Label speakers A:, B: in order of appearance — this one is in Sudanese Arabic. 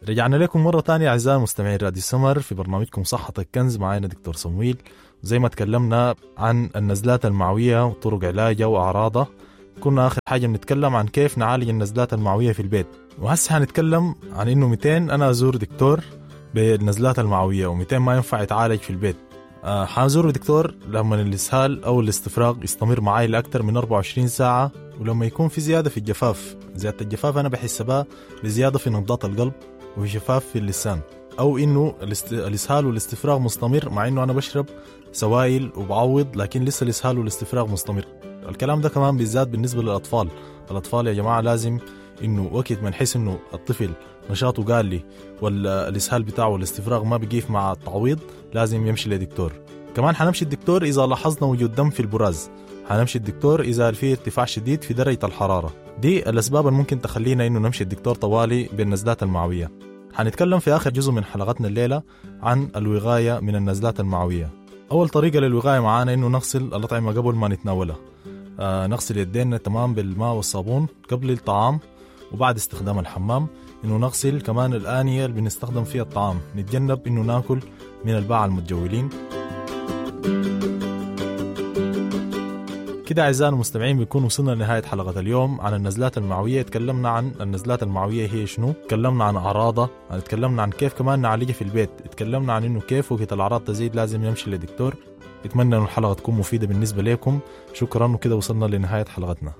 A: رجعنا لكم مرة تانية أعزائي المستمعين راديو سمر في برنامجكم صحتك كنز، معانا دكتور صمويل. زي ما تكلمنا عن النزلات المعوية وطرق علاجها وأعراضها، كنا آخر حاجة بنتكلم عن كيف نعالج النزلات المعوية في البيت، وهسه هنتكلم عن إنه 200 أنا أزور دكتور بالنزلات المعوية و200 ما ينفع يتعالج في البيت. حازور دكتور لما الإسهال أو الاستفراغ يستمر معي لأكثر من 24 ساعة، ولما يكون في زيادة في الجفاف. زيادة الجفاف أنا بحسبها بزيادة في نبضات القلب وجفاف في اللسان، أو إنه الإسهال والاستفراغ مستمر مع إنه أنا بشرب سوائل وبعوض، لكن لسه الإسهال والاستفراغ مستمر. الكلام ده كمان بالذات بالنسبة للأطفال. الأطفال يا جماعة لازم إنه وقت ما نحس إنه الطفل نشاطه قال ولا الإسهال بتاعه والاستفراغ ما بيقيف مع التعويض، لازم يمشي لدكتور. كمان حنمشي الدكتور إذا لاحظنا وجود دم في البراز، حنمشي الدكتور إذا في ارتفاع شديد في درجة الحرارة. دي الأسباب اللي ممكن تخلينا إنه نمشي الدكتور طوالي بالنزلات المعوية. حنتكلم في آخر جزء من حلقتنا الليلة عن الوقاية من النزلات المعوية. أول طريقة للوقاية معانا إنه نغسل الأطعمة قبل ما نتناولها. نغسل يدينا تمام بالماء والصابون قبل الطعام وبعد استخدام الحمام. إنه نغسل كمان الآنية اللي بنستخدم فيها الطعام، نتجنب إنه ناكل من الباعة المتجولين. كده أعزائي المستمعين بنكون وصلنا لنهاية حلقة اليوم عن النزلات المعوية. تكلمنا عن النزلات المعوية هي شنو، تكلمنا عن أعراضها، تكلمنا عن كيف كمان نعالجها في البيت، تكلمنا عن إنه كيف وقت الأعراض تزيد لازم نمشي لدكتور. أتمنى إنه الحلقة تكون مفيدة بالنسبة لكم. شكرا، وكده وصلنا لنهاية حلقتنا.